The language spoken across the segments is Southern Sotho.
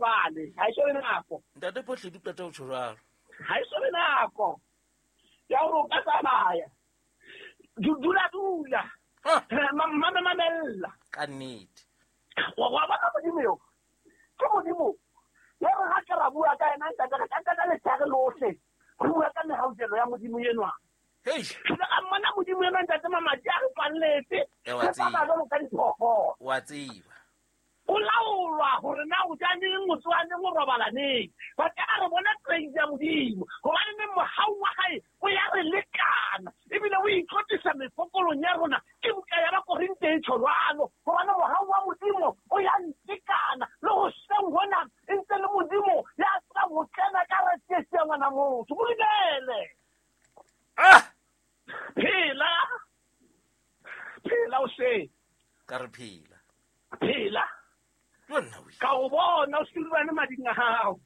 jwale, ha e so be nako. Ntate Phohle di qeta ho tjho jwalo. Ha e so be nako ya hore o ka tsamaya. Dula dula. Mamella. Ka nnete. Wa bona Modimo eo. Ke Modimo. Ya re ha ke ra bua ka yena ntate, re ka nka letshehare lohle. Re bua ka mehaujelo ya Modimo enwa. Hei. Re ka mmona Modimo enwa ntate mamati a re tswalletse. Wa Re tsamaya jwalo ka diphoofolo. Wa tseba. O laolwa hore na o ja neng, o tsoha neng, o robala neng. Ba ka re bona praise ya Modimo. Hobane neng mohau wa hae o ya re lekana. Ebile o itlotlisa mefokolong ya rona. Ke buka ya Bakorinthe e tjho jwalo. Hobane mohau wa Modimo o ya ntekana. Le hoseng hona e ntse le Modimo ya tsebang ho kena ka re tsietsi ya ngwana motho. Mo dumele. Ah! Phela. Phela o se. Ka re phela. Phela. Ka o bona o silwane mading a hao.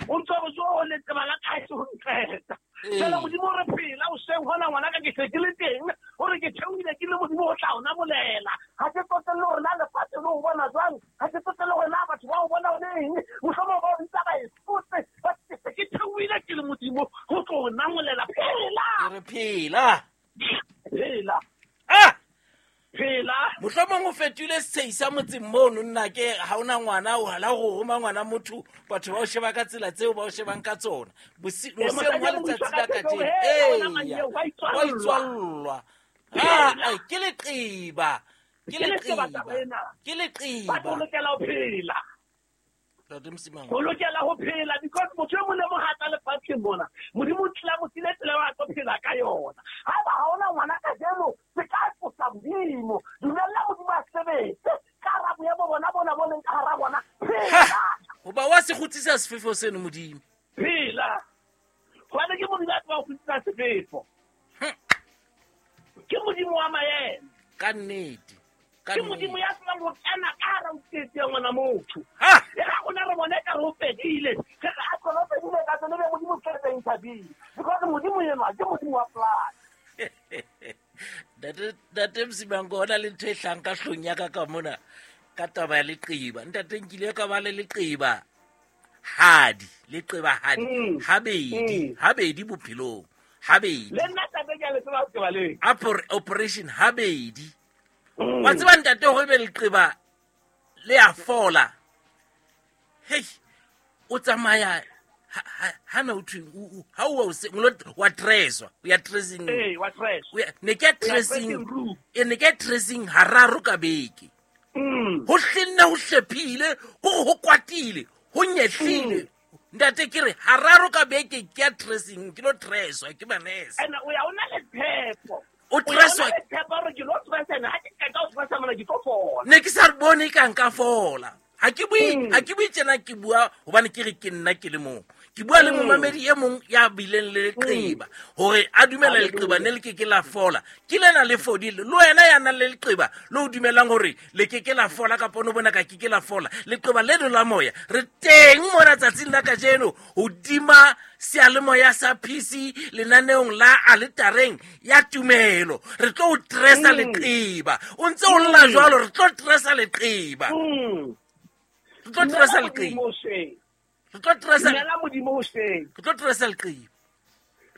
O ntse o jo le tseba la kae se ho nqeta. Fela Modimo o re phela o seng hona ngwana ka ke se ke le teng, o re ke theohile ke le Modimo o tla o namolela. Ha ke tsotelle hore na lefatshe le o bona jwang, ha ke tsotelle hore na batho ba o bona o le eng, mohlomong ba o bitsa ba e fotse, ba ke se ke theohile ke le Modimo ho tlo o namolela. Phela. Ke re phela. Phela. Ah! Phela. Mohlomong o fetohile setshehisa sa motseng mono, nna ke ha ona ngwana, o hala ho roma ngwana motho, batho ba o sheba ka tsela tseo ba o shebang ka tsona. Boseng wa letsatsi la kajeno. Ee, wa itswallwa. Ah, ke leqeba. Ke leqeba. Ke leqeba. Ba lokela ho phela. Ntate Msimang. O lokela ho phela because motho e mong le mong ha tla lefatsheng mona, Modimo o tlila mo file tsela eo a tlo phela ka yona. Haeba ha ona ngwana kajeno, se ka tlosa Modimo. Dumella Modimo a sebetse ka hara boemo bona bona bo leng ka hara bona. Phela. Hoba wa se kgutsisa sefefo seno Modimo. Phela. Hobane ke Modimo a tsebang ho kgutsisa sefefo. Ke Modimo wa maemo. Ka nnete. Ke Modimo ya tsebang ho kena ka hara tsietsi ya ngwana motho. E ga rona re bone ka re o fedile. Re re a tsona o fedile ka tsone, be Modimo o tshwere intervene. Because Modimo enwa ke Modimo wa plan. Ntate Msimang, hona le ntho e hlang ka hlong ya ka ka mona ka taba ya leqeba. Ntate nkile ka ba le leqeba hadi, leqeba hadi, habedi, habedi bophelong, habedi. Le nna tate ke a le tseba ho tseba le. Operation habedi. Wa tseba ntate hore ebe leqeba le a fola. Hei, o tsamaya ha na o thwe, ha o wa o se, wa dresswa, o ya dressing. Ee, wa dress. O ya, ne ke ya O ya dressing, dressing room. e, ne ke ya dressing hararo ka beke. Ho hlenne, ho hlephile, ho ho kwatile, ho nyehlile. Ntate ke re hararo ka beke ke ya dressing, ke lo dresswa ke manese. Ene o ya o na le tshepo. O dresswa. O ya o na le tshepo hore ke lo dressa ene, ha ke qeta ho dressa mona ke tlo fola. Ne ke sa re bone e ka nka fola. Ha ke bue, ha ke bue tjena, ke bua hobane ke re ke nna ke le mong. Ke bua le momamedi e mong ya bileng le leqeba hore a dumela leqeba ne le ke ke la fola. Ke lena le fodile. Le wena ya nang le leqeba le o dumelang hore le ke ke la fola kapa o no bona ka ke ke la fola. Leqeba leno la moya re teng mona tsatsing la kajeno hodima seyalemoya sa PC lenaneong la aletareng ya tumelo. Re tlo o dressa leqeba. O ntse o lla jwalo, re tlo dressa leqeba. Re tlo dressa leqeba. Re tlo dressa Dumela Modimo hoseng. Re tlo dressa leqeba.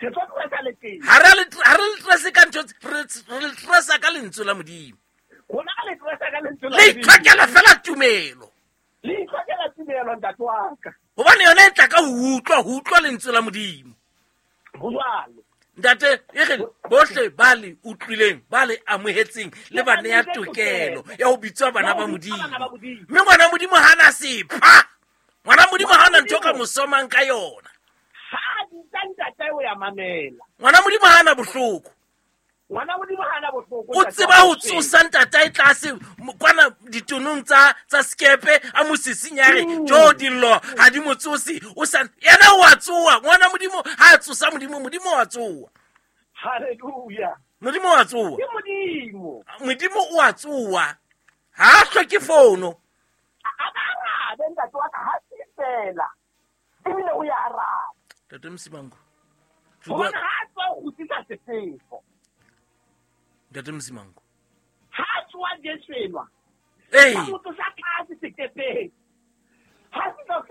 Re tlo dressa leqeba. Ha re le ha re le dresse ka ntho tse, re le dressa ka lentswe la Modimo. Rona re le dressa ka lentswe la Le Modimo. itlhokela fela tumelo. Le itlhokela tumelo, ntate wa ka. Hobane yona e tla ka ho utlwa, ho utlwa lentswe la Modimo. Ho jwalo. Ntate, e re bohle ba le utlwileng, ba le amohetseng, le ba neya tokelo ya ho bitswa bana ba Modimo. Mme ngwana Modimo ha na sepha. Ngwana Modimo ha na ntho ka mo somang ka yona. Ha bitsa ntate o ya mamela. Ngwana Modimo ha na bohloko. Ngwana Modimo ha na bohloko. O tseba ho tsosa ntatae tlase kwana ditonong tsa skepe a mo sisinyare, jo dillo ha di mo tsose, o sa yena o a tsoha. Ngwana Modimo ha a tsosa Modimo, Modimo o a tsoha. Hallelujah. Modimo o a tsoha. Ke Modimo. Modimo o a tsoha. Ha a hloke fono. A ba arabe ntate wa ka, ha se fela. Ebile o ya araba. Ntate Msimango. Hobane ha a tswa ho kgutsisa sefefo. Ntate Msimango. Ha a tsoha Jesu enwa. Ee. Ha motho sa tlase sekepeng. Ha se tla